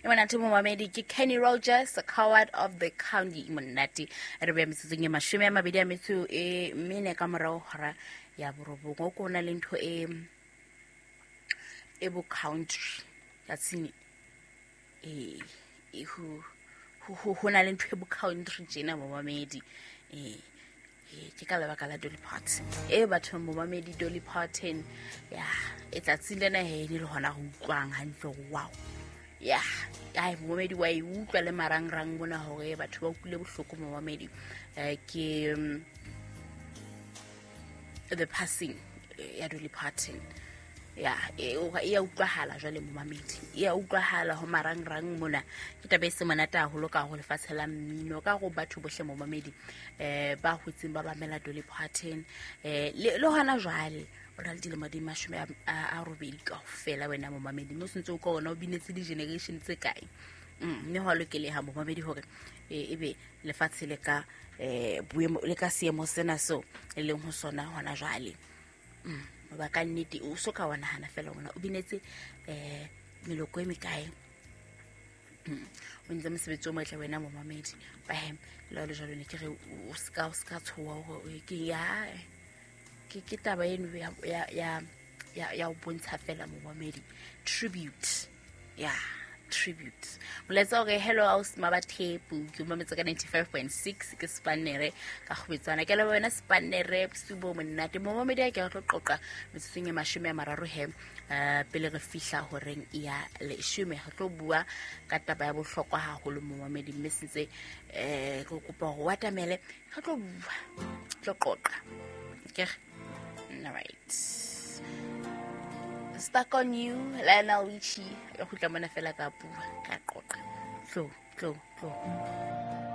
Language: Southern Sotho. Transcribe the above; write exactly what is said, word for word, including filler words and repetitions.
E monate momamedi ke Kenny Rogers, Coward of the County. Monate re beya metsotsong e mashome a mabedi a metso e mene ka morao hora ya borobong. O ko na le ntho e e bo country tsatsing e e ho ho ho na le ntho e bo country tjena momamedi. E ke ka lebaka la Dolly Parton e batho momamedi. Dolly Parton ya e tsatsing lena he le hona ho utlwang hantle. Wow, ya ai momamedi wa e utlwa le marangrang bona hore batho ba utlwile bohloko momamedi. Eh, ke the passing ya Dolly Parton ya e ya utlwahala jwale momamedi, e ya utlwahala ho marangrang mona. Ke taba e se monate haholo ka ho lefatshe la mmino, ka go batho bohle momamedi eh ba hotseng ba bamela Dolly Parton eh le le hona jwale o na le dilemo di mashome a robedi kaofela wena momamedi, mme o sentse o ka ona o binetse di-generation tse kae. Mme ho a lokeleha momamedi hore ebe lefatshe le ka eh boemo le ka seemo sena seo e leng ho sona hona jwale. Ba ka nnete o so ka wa nahana fela ona o binetse eh meloko e mekae. O ntse mosebetsi o motle wena momamedi. Ba hem le le jwalo ne ke re o ska o ska tshoha hore ke ya ke ke taba eno ya ya ya ya o bontsha fela momamedi tribute ya tribute. Molaetsa hore hello house mabathepu ke mametse ka ninety-five point six ke Spanere ka kgobetsana ke le wena Spanere bosiu monate momamedi. A ke re tlo qoqa metsotsong e mashome a mararo he pele re fihla horeng ya leshome. Re tlo bua ka taba ya bohlokwa haholo momamedi, mme sentse eh re kopa hore o atamele re tlo bua tlo qoqa ke. All right, Stuck on You, Lionel Richie. Re kgutla mona fela ka bua ka qoqa. Tlo tlo tlo.